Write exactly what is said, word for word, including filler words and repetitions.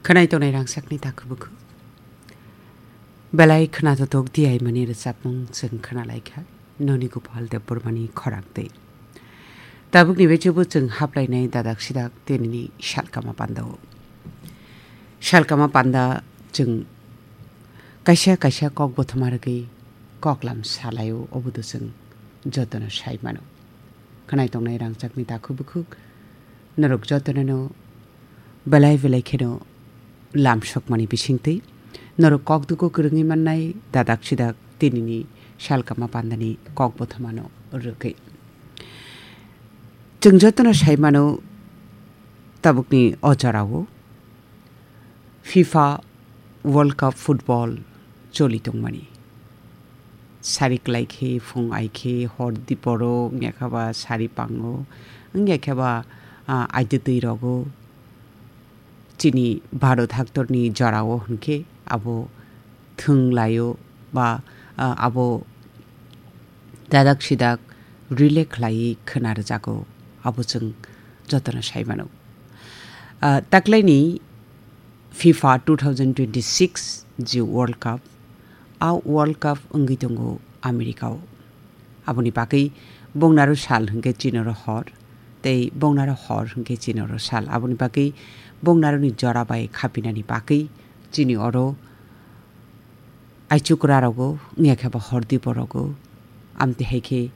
Khwnai tongnai rangchakni takhuk bukhuk. Belai khwnathok diaimani rwchapmung chwng khwnalaikha, noni Gopal Debbarmani khorang twi. Tabukni bechebo chwng haplainai dadak sidak tinini salkama pandao. Salkama panda chwng kaisa kaisa kok bothoma rwgwi koklam salaio, obodo chwng jotono sai mano. Khwnai tongnai rangchakni takhuk bukhuk, norok jotono belai belai kheno lamsokmani bisingtwi norok kok dugo kwrwngwi mannai dadak sidak tinini salkama pandani kok bothomano rwgwi. Chwng jotono sai mano, tabukni o jorao FIFA World Cup football choli tongmani. Sari kwlai khe, phung ai khe, hor diporo, wngya khe ba sari pango, wngya khe ba, ah, aidwtwi rogo. Chini Bharat haktorni jorao hwnkhe abo thwng laio ba, ah, abo dadak sidak relay khlaiwi khwna rwjago, abo chwng jotono sai mano. Ah, taklaini FIFA two thousand twenty-six ji World Cup, a World Cup wngwi tongo America-o. Aboni bagwi bongnaro sal hwnkhe chinoro hor, tei bongnaro hor hwnkhe chinoro sal. Aboni bagwi bongnaroni jora bai khapinani bagwi chini oro aichukra rogo, wngya khe ba hor dipo rogo, amtwi hai khe